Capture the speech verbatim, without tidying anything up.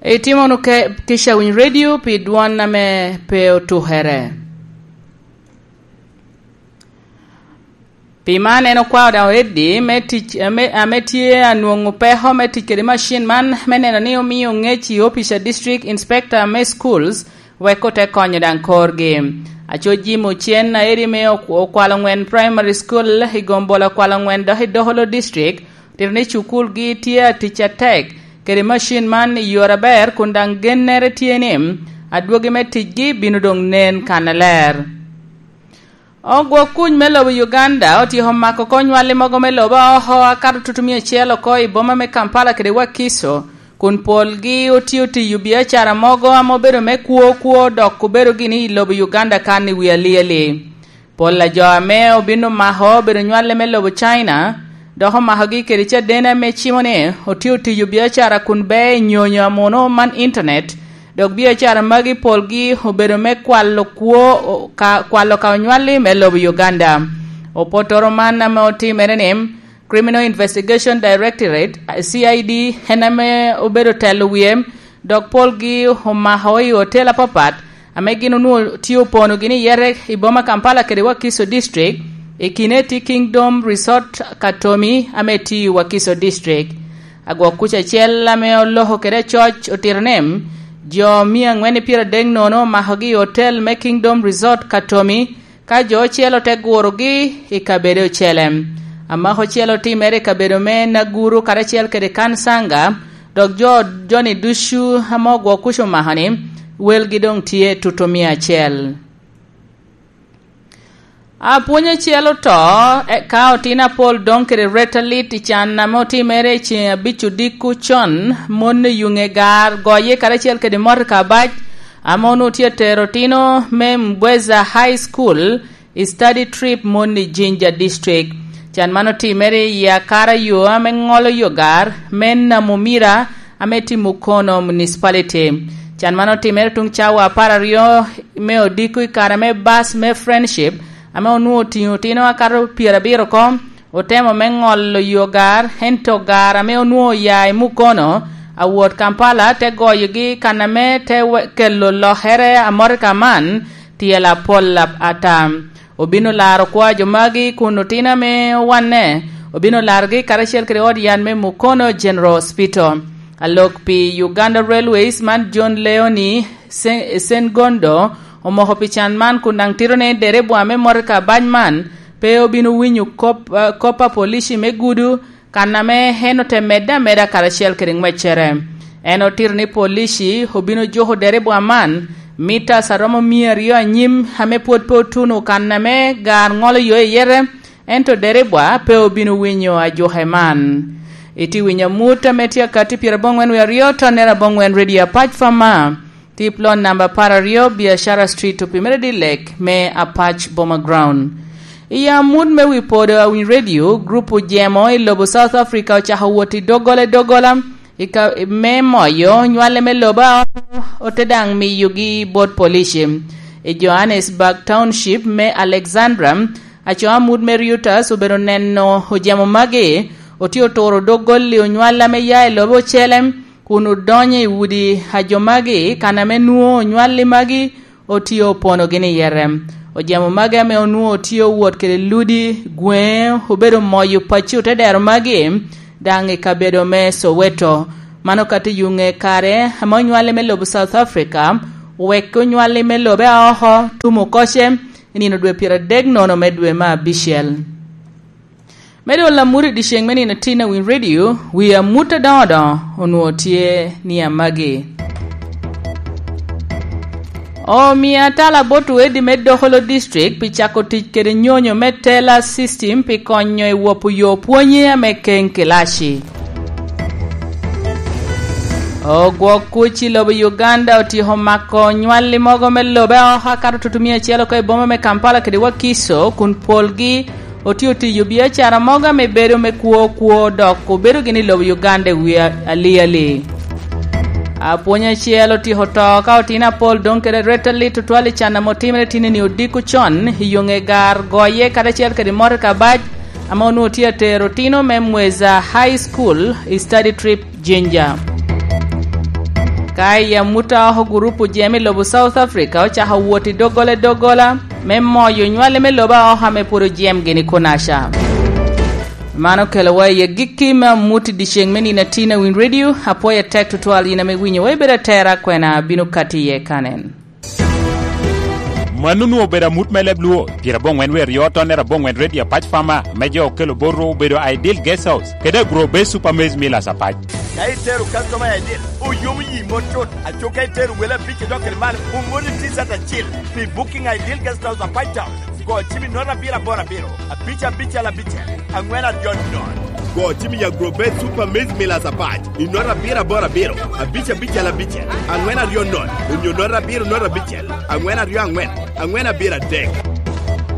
Itimo wunu ke-, kica winy redio pi dwon ame pe otukere. Pi man en okwao daŋ oreddi me tic, ame, ame tye anwoŋo peko me tic kede macin man, me neno ni omio ŋec i opic a District Inspector me Schools, wek ote konyo daŋ korgi. Aco Jim Ocen aedi me ok-, Okwalo Ŋwen Primary School i Gombola Okwalo Ŋwen dok i Dokolo District, otito ni cukulgi tye atic atek kede macin man i yore aber, kun daŋ gennere tye ni adwogi me ticgi bino doŋ nen kannaler. Ogwok kuc me lobo Uganda otyeko mako oko nywalli mogo me lobo oko akato tutumia acel oko i boma me Kampala kede Wakiso, kun polgi otye otiyo biacara mogo ame obedo me kwo kwo dok obedo gini i lobo Uganda kan i wi alieli. Pol a jo ame obin omako obedo nywalli me lobo China, dok omakogi kede caden ame cimo ni otye otiyo biacara kun be i nyonyo amuno man internet, dok biacara magi polgi obedo me kwalo kwo, ka, kwalo ka onywalli me lobo Uganda. Opotoro man ame otimere ni Criminal Investigation Directorate, C I D, en ame obedo telo wie, dok polgi omako i hotel apapat, ame gin onwoŋo tye opono gini yete i boma Kampala kede Wakiso District, i kine tye Kingdom Resort Katomi, ame tye i Wakiso District. Agwok kuc acel ame oloko kede acoc otito ni, jo mia angwen i pyeradek nono omakogi i hotel me Kingdom Resort Katomi, ka jo ocel ote gurogi i kabedo ocele. Amaka ocel otimere i kabedo me Naguru karacel kede Kansanga, dok jo, joni ducu ame ogwok kuc omako ni, welgi doŋ tye tutumia acel. Apwony acel oto, e, ka otino apol doŋ kede reta lit i can ame otimere i ceŋ abic odiko con, mon i Yuŋe gar goye karacel kede motoka abac, ame onwoŋo tye atero otino me Mbweza High School i study trip mon i Jinja District. Can man otimere i akara yo ame ŋolo yo gar me Namumira, ame tye Mukono Municipality. Can man otimere tuŋ cawa apar aryo me odiko i kare me bus me Friendship, ame onwoŋo otiŋo otino akato pyerabiro oko, otemo me ŋolo yo gar, ento gar ame onwoŋo oya i Mukono, awot Kampala, te goyogi kan ame te we-, kelo lokere a motoka man, tyel apol ap-, ata. Obino laro kwo a jo magi kun otino ame owanne, obino larogi karacel kede ot yat me Mukono General Hospital. Alok pi Uganda Railways man John Leoni Se-, Sengondo omoko pi can man kun daŋ tito ni derebwa me motoka abac man pe obino winyo kop, eh, kop a polici me gudo, kan ame en ote medde ameda karacel kede ŋweccere. En otito ni polici obino juko derebwa man mitas aromo mia aryo anyim ame pwod pe otuno kan ame gar ŋolo yo i yete, ento derebwa pe obino winyo ajuke man. Itye winyo amut ame tye akati pyeraboŋwen wie aryo, tonnere aboŋwen Radio Apac Fama. Tip lon namba apar aryo, Biashara Street, opimere Dilek me Apac Boma Ground. I amut me wi podo a Winy Radio, grup ojemo i lobo South Africa ocako wot i doggola i doggola, i ka, me moyo nywale me lobo a ote daŋ miyogi bot polici. I Johannesburg Township me Alexandra, aco amut me Reuters obedo neno ojemo magi, otye oturo doggolli onywale ame ya i lobo ocele, kun odonyo i udi a jo magi, kan ame nwoŋo onywalli magi otye oponogi ni yete. Ojemo magi ame onwoŋo tye owot kede ludi, gweŋe, obedo moyo pacci otedero magi, daŋ i kabedo me Soweto. Mano ka tye yuŋe kare ame onywalli me lobo South Africa, wek onywalli me lobe a oko tumo koce i nino dwe pyeradek nono me dwe me abicel. Me dwol amut i dyeceŋ me nino tin a Winy Radio, wi amut adoŋo doŋo onwoŋo tye ni amagi. Omio atala bot wedi me Dokolo District pi cako tic kede nyonyo me teller system pi konyo i wopo yo pwonye ame keŋ kilaci. Ogwok kuc i lobo Uganda otyeko mako nywalli mogo me lobe oko akato tutumia acel oko i boma me Kampala kede Wakiso, kun polgi otye otiyo biacara mogo ame bedo me kwo kwo, dok obedo gini i lobo Uganda i wi a-, aliali. Apwony acel otyeko to ka otino apol doŋ kede reta lit tutwal i can ame otimere tinni odiko con i yo ŋe gar goye karacel kede motoka bac ame onwoŋo tye atero otino me Mweza High School i study trip Jinja. Ka i amut a oko gurup ojemo i lobo South Africa ocako wot i doggola i doggola me moyo nywale me lobo a oko ame pwod ojemgi ni kunaca. Man okelowa i agikki me amut i dyeceŋ me nino atin a Win Radio. Apwoyo atek tutwal yin ame winyowa ibedo atera kwena bino kati iye kanen. Mano onwoŋo obedo amut me leb Luo, pyerabongwen wie aryo tonnere abongwen redio apac Farmer, me jo okelo bot ru obedo Ideal Guest House, kede Agro Base Super Maize Millers apac. Ka itero customer I D, oyomo yi mot cut. Aco ka itero wele abic idok kede malo, omoni T-shirt acil. Pi booking Ideal Guest House apac Town, go cim i note abiro aboro abiro, abic abicel abicel, angwen aryo nono. Go cim i Agro Base Super Maize Millers apac, i note abiro aboro abiro, abic abicel abicel, angwen aryo nono, onyo note abiro note abicel, angwen aryo angwen, angwen abiro adek.